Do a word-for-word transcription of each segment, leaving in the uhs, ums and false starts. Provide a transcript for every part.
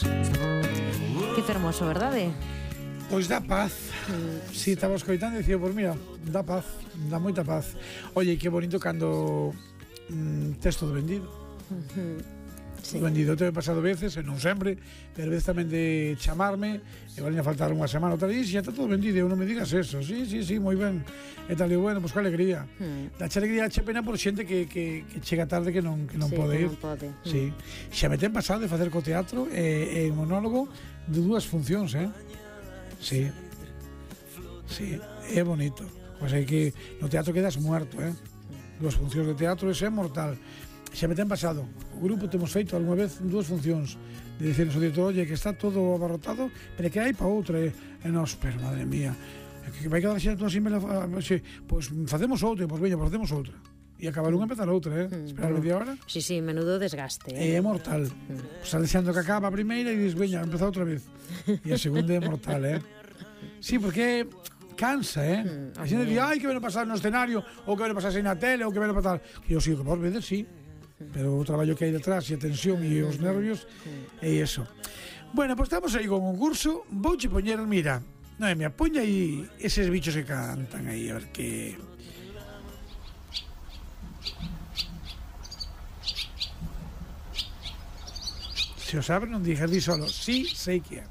Carlos. Que fermoso, verdade? Pois dá paz. Mm. Si, estaba escoitando e dicía, pois mira, dá paz, dá moita paz. Oye, que bonito cando mm, tes todo vendido. Uh-huh. Sí. Vendido te he pasado veces, e non sempre, pero veces tamén de chamarme, e valía faltar unha semana ou tal, e xa está todo vendido, e non me digas eso. Sí, sí, sí, moi ben. E tal, e bueno, pois pues, que alegría. Mm. Dache alegría, che pena por xente que, que, que chega tarde que non, que non sí, pode que ir. Non pode. Sí. Xa me ten pasado de facer co teatro e, e monólogo de dúas funcións, eh? Sí. Sí, é bonito. Pois hai que no teatro quedas muerto, eh? Dúas funcións de teatro, ese é mortal. Xa me ten pasado. O grupo temos feito algunha vez dúas funcións de dicernos ao director, oye, que está todo abarrotado, pero que hai pa outra, e, e nos, pero madre mía, que vai quedar xente así, pois facemos outra, pois veña, pois facemos outra. E acabar unha e empezar outra, eh? Mm, esperar media hora. Sí, sí, menudo desgaste, É eh? mortal. Mm. Pois estás deseando que acaba a primeira e dices, veña, empezar outra vez. E a segunda é mortal, eh? Sí, porque cansa, eh? Mm, a xente di, ai, que ven a pasar no escenario, ou que ven a pasar na tele, ou que ven a pasar... E eu sigo, que por veces, sí. Pero o traballo que hai detrás e a tensión e os nervios é iso. Bueno, pois pues estamos aí con un curso. Vouche poñer, mira, Noemia, poña aí eses bichos que cantan aí, a ver que... Se o sabe, non digas, di solo, sí, sei que é.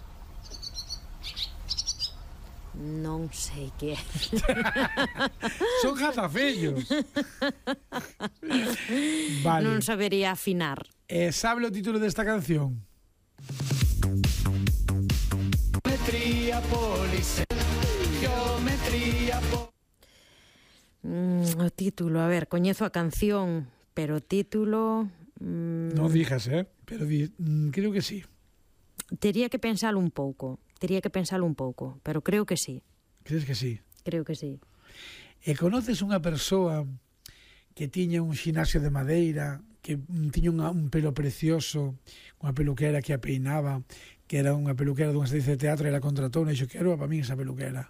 Non sei que é. Son jazafellos. Vale. Non sabería afinar. Eh, sabe o título desta canción? Geometría police. Geometría po... mm, O título, a ver, coñezo a canción, pero o título... Mm, non dijas, eh? Pero di, mm, creo que sí. Tería que pensalo un pouco. Tería que pensalo un pouco, pero creo que sí. Crees que sí? Creo que sí. E conoces unha persoa que tiña un xinasio de madeira, que tiña unha, un pelo precioso, unha peluquera que a peinaba, que era unha peluquera dunha estancia de teatro, e la contratou, e dixo, quero para mí esa peluquera.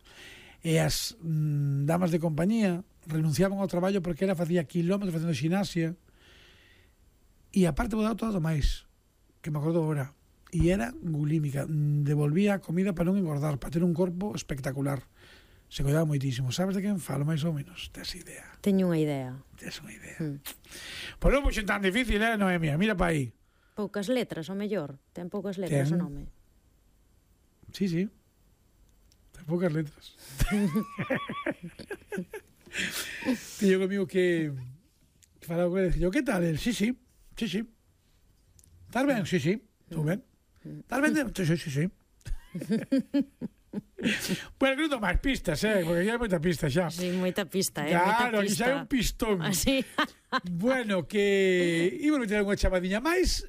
E as mm, damas de compañía renunciaban ao traballo porque ela facía kilómetros facendo xinasia, e aparte vou dar todo máis, que me acordo agora. E era bulímica, devolvía a comida para non engordar, para ter un corpo espectacular. Se cuidaba moitísimo. Sabes de quen falo, máis ou menos? Tes idea? Teño unha idea. Tes unha idea. Mm. Pois non puxen tan difícil, eh, Noemia? Mira pa aí. Poucas letras, o mellor. Ten poucas letras Ten... o nome. Sí, sí. Ten poucas letras. Tiño comigo que... que falaba con ele, dixo, que tal? El, sí, sí. Sí, sí. Estás ben? Sí, sí. Estou ben. Estás ben? Sí, sí, sí, sí. Bueno, que non máis pistas, eh? Porque xa hai moita pista xa. Sí, moita pista, eh? Claro, moita aquí pista. xa hai un pistón. Así. Bueno, que... Iba a meter unha chamadiña máis.